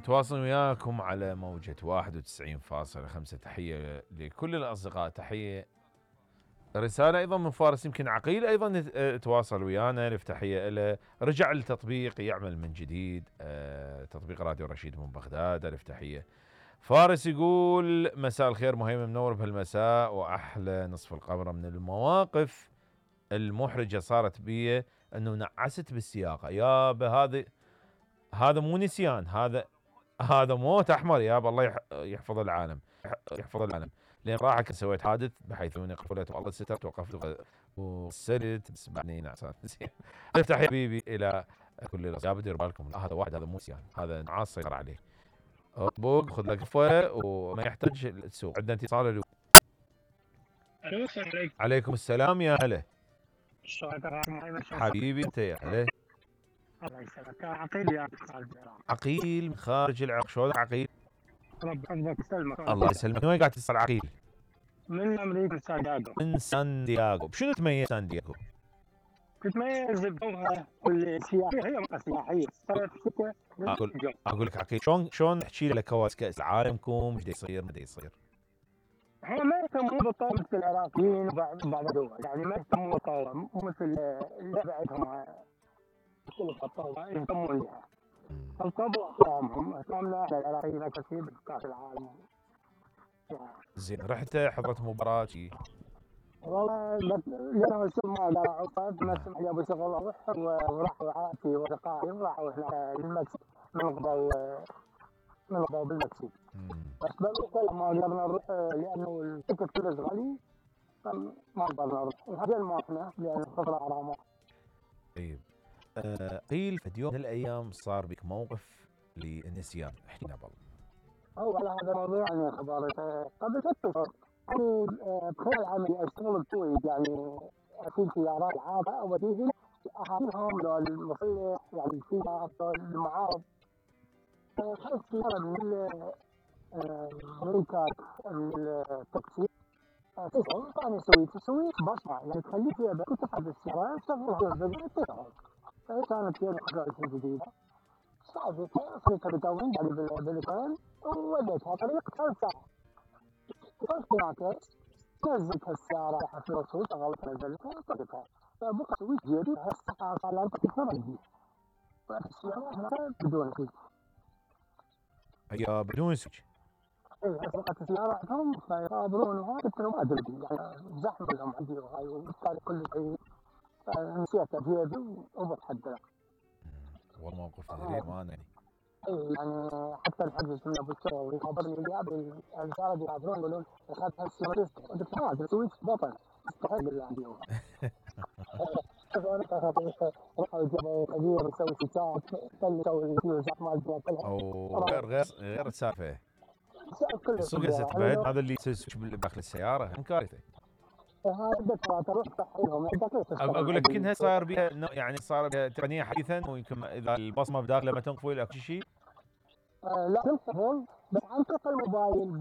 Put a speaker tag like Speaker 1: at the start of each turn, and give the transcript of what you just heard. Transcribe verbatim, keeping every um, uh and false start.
Speaker 1: نتواصل وياكم على موجة واحد وتسعين فاصلة خمسة. تحية لكل الأصدقاء، تحية رسالة أيضا من فارس. يمكن عقيل أيضا تواصل ويانا، نفتح تحية له. رجع التطبيق يعمل من جديد، تطبيق راديو رشيد من بغداد. ألف تحية. فارس يقول مساء الخير مهيمن، منور بهالمساء وأحلى نصف القمر. من المواقف المحرجة صارت بي أنه نعست بالسياقة. يابا هذا هذا مو نسيان، هذا هذا موت احمر يابا. الله يحفظ العالم، يحفظ العالم. لين راح سويت حادث بحيث اني قفلت والله سترت وقفت وسلت بس بعدني نعسان. زين افتح يا حبيبي الى كل الاصحاب، دير بالكم هذا واحد، هذا مو نسيان، هذا نعاس سيطر عليه. اطبق خذ لك قفه وما يحتاج السوق. عندنا اتصال. الو
Speaker 2: السلام عليكم.
Speaker 1: عليكم السلام يا هلا.
Speaker 2: شلونك
Speaker 1: حبيبي انت يا هلا.
Speaker 2: الله يسلمك. عقيل يا خارج العراق.
Speaker 1: عقيل من خارج العراق. شلونك عقيل؟
Speaker 2: رب يحفظك ويسلمك.
Speaker 1: الله يسلمك. من وين قاعد تتصل عقيل؟
Speaker 2: من امريكا، من سان دياغو.
Speaker 1: من سان دياغو. بشنو تميز سان دياغو؟
Speaker 2: تتميز بجوها والسياحيه، هي منطقه سياحيه. صارت شتاء
Speaker 1: اقول اقول لك عقيل، شلون شلون نحكي لك كواس كاس العالمكم ايش يصير ما يصير؟
Speaker 2: احنا ما يهتمون بالطاوله مثل العراقيين وبعض بعض الدول، يعني ما يهتمون بالطاوله مو مثل اللي بعدهم كل الطاوله يهتمون بها. الطبع احترامهم، احترامنا احنا العراقيين اكثر شيء بكاس العالم.
Speaker 1: زين رحت حضرت مباراة شي؟
Speaker 2: والله لأنه الشغل ما لا عقد، ما سمح لي ابو شغل اروح، ورحوا عائلتي ورفقائي وراحوا احنا للمكسيك من قبل من قبل بالمكسيك. بس بالوقت ما قدرنا نروح لانه التكت كلش غالي، ما قدرنا نروح. وهذا ما احنا لان الخطره غرامه.
Speaker 1: طيب آه قيل في يوم من الايام صار بك موقف للنسيان، احكي لنا بالله.
Speaker 2: هو على هذا الموضوع يعني خبرت قبل ست اشهر يعني بخلال عملي اشتغل بكويت، يعني في سيارات عابه وبديهم اهاليهم لو المصلح يعني السيارات المعارض. خلص سياره من الملكات التاكسي تشعر ثاني سويت سويت بصمه، يعني تخلي فيها بس تفعل السياره تشغلها تشتغل. فهي كانت هي الحاجات الجديده. صعبتها صرت بدون يعني بالبلكون ووليتها طريق ثلاث ساعات. وصلت هناك نزلت السيارة راحت الرسول شغلتها بالبلكون وطلقتها. فبقى سويت جديد هالساعة صار لها تكثر جديد. والسيارة هناك بدون سويت.
Speaker 1: هي بدون سويت؟
Speaker 2: اي بقت السيارة عندهم فيقابلون وهاي قلت له ما ادري يعني زحمة لهم عندي وهاي وبالتالي كل شيء نسيت بيدي وبتحدى.
Speaker 1: والله موقف غريب ما يعني.
Speaker 2: اي يعني حتى الحجز من ابو الشغل يخبرني اللي قبل الرجال يعبرون يقولون اخذت هالسيارة قلت ما ادري سويت بطل استحق اللي عندي هو. راحوا جابوا كبير يسوي ستات خلي يسوي الفيوزات مالتنا كلها.
Speaker 1: او غير غير غير السالفه. السوق تبعد هذا اللي يسوي داخل السياره هم كارثه.
Speaker 2: هذا تروح تحيلهم
Speaker 1: اقول لك يمكن صار بها يعني صار بها تقنيه حديثا، ويمكن اذا البصمه بداخله ما تنقفل اكو شيء.
Speaker 2: لا تنقفل بس عن طريق الموبايل